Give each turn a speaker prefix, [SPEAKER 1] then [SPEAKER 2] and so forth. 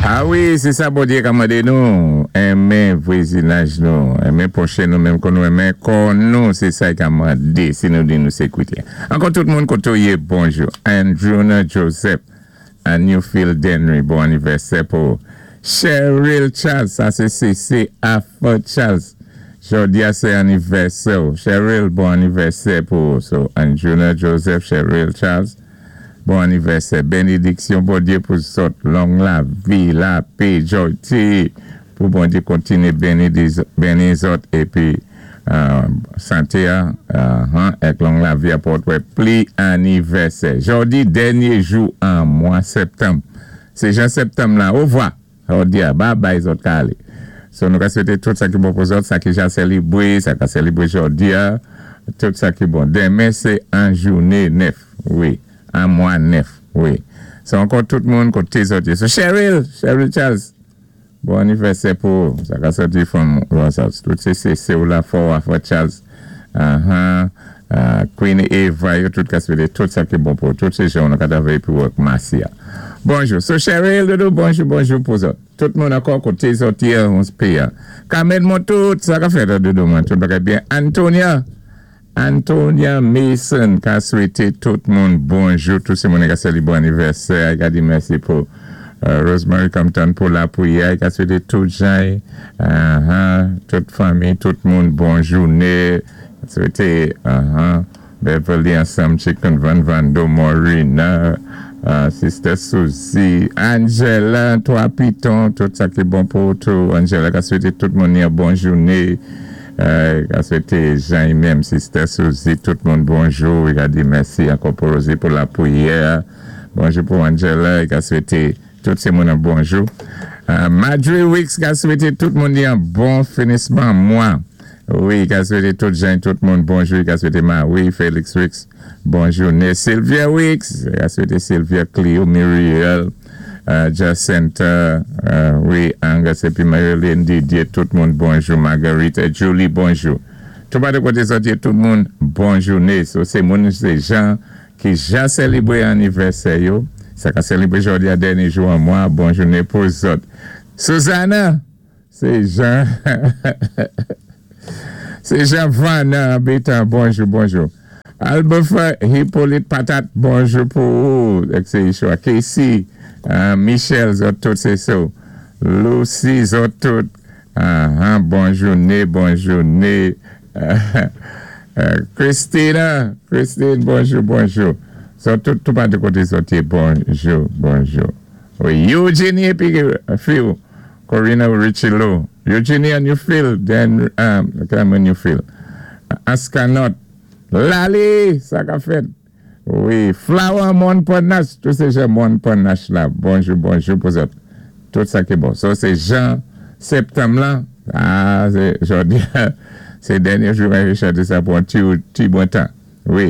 [SPEAKER 1] A wi, sé sa Bondyé ka mandé nou, enmen vwazinaj nou, enmen pwochen nou menm kon nou enmen kò nou, sé sa i ka mandé si nou di nou sé kwétyen. Ankò tout moun koto yé, bonjou. Andrewna Joseph, a Newfield Denry, bon anivèsè pou Cheryl Charles, sa sé CC Afro Charles. Jòdi-a sé anivèsè. Cheryl, bon anivèsè pou so Andrewna Joseph, Cheryl Charles. Bon anivèsè, bénédiksyon Bondyé pou zòt, long lavi, lapè, jòti, pou Bondyé kontiné béni, béni zòt épi santé èk long lavi a pou wè pli anivèsè. Jòdi, dènyé jou an mwa septanm. Sé jan septanm la, ovwa. Jòdi-a, bye bye zòt ka alé. So nou ka swété tout sa ki bon pou zòt, sa ki ja sélibwé, sa ka sélibwé jòdi-a, tout sa ki bon. Denmen sé an jouné 9, wi, an mwa 9, wi. So ankò tout moun koté zòt yé. So Cheryl, Cheryl Charles, bon anivèsè pou sa ka sòti from Ross. Tout sé sé ou la fò Afro Charles. Queen Eva, yo tout ka swété tout sa ki bon pou tout sé jan nou ka travay pou work Marcia. Bonjou. So Cheryl, doudou, bonjou, bonjou pou zòt. Tout moun ankò koté zòt yé, on se Kamen moun tout, sa ka fèt doudou mwen, tout bagay byen. Antonia, Antonia Mason ka swété tout moun bonjou, tout sé moun ka sélibwé anivèsè, i ka di mèsi pou Rosemary Compton pou lapwiyè, i ka swété tout jan, tout fanmi, tout moun bon jouné, swété, Beverly ansanm, Chicken Van Vando, Morina, Sister Suzy, Angela, Trois Pitons, tout sa ki bon pou tout. Angela ka swété tout moun yon bon jouné. Ka swété Jean menm, Sister Suzy, tout moun bonjou. I ka di mèsi ankò pou Rosie pou lapwiyè. Bonjou pou Angela, i ka swété tout sé moun an bonjou. Madre Wicks ka swété tout moun yon bon finisman mwa. Wi, ka swété tout jan, tout moun bonjou. Ka swété Marie, Félix Wicks, bon jouné. Sylvia Wicks, ka swété Sylvia Clio, Muriel, Jacinta, wi, Angus, épi Marilyn Didier, tout moun bonjou. Marguerite, Julie, bonjou. Tout pa de koté sòti, tout moun bon jouné. So, sé moun, sé jan ki ja sélibwé anivèsè yo. Sa ka sélibwé jòdi-a dènyé jou an mwa, bon jouné pou zòt. Susanna, sé Jean Van Bétan, bonjou, bonjou. Albert Hippolyte Patate, bonjou pou ou, sé Ishua. Casey, Michel, zòt tout sé sa. Lucy, zòt tout, bon jouné, bon jouné. Christina, Christine, bonjou, bonjou. Zòt tout, tout pa de koté zòt yé, bonjou, bonjou. Wi, Eugenie épi Phil, Corina Richilo. Eugenie and you feel, then, when you feel. Askanot, Lali, sa ka fèt. Wi, Flower Montparnasse, tout sé jan Montparnasse la. Bonjou, bonjou pou zòt. Tout sa ki bon. So sé jan septanm la, ah, sé, jòdi, sé dènyé jou mwen chanté sa pou an ti, ti bon tan. Wi.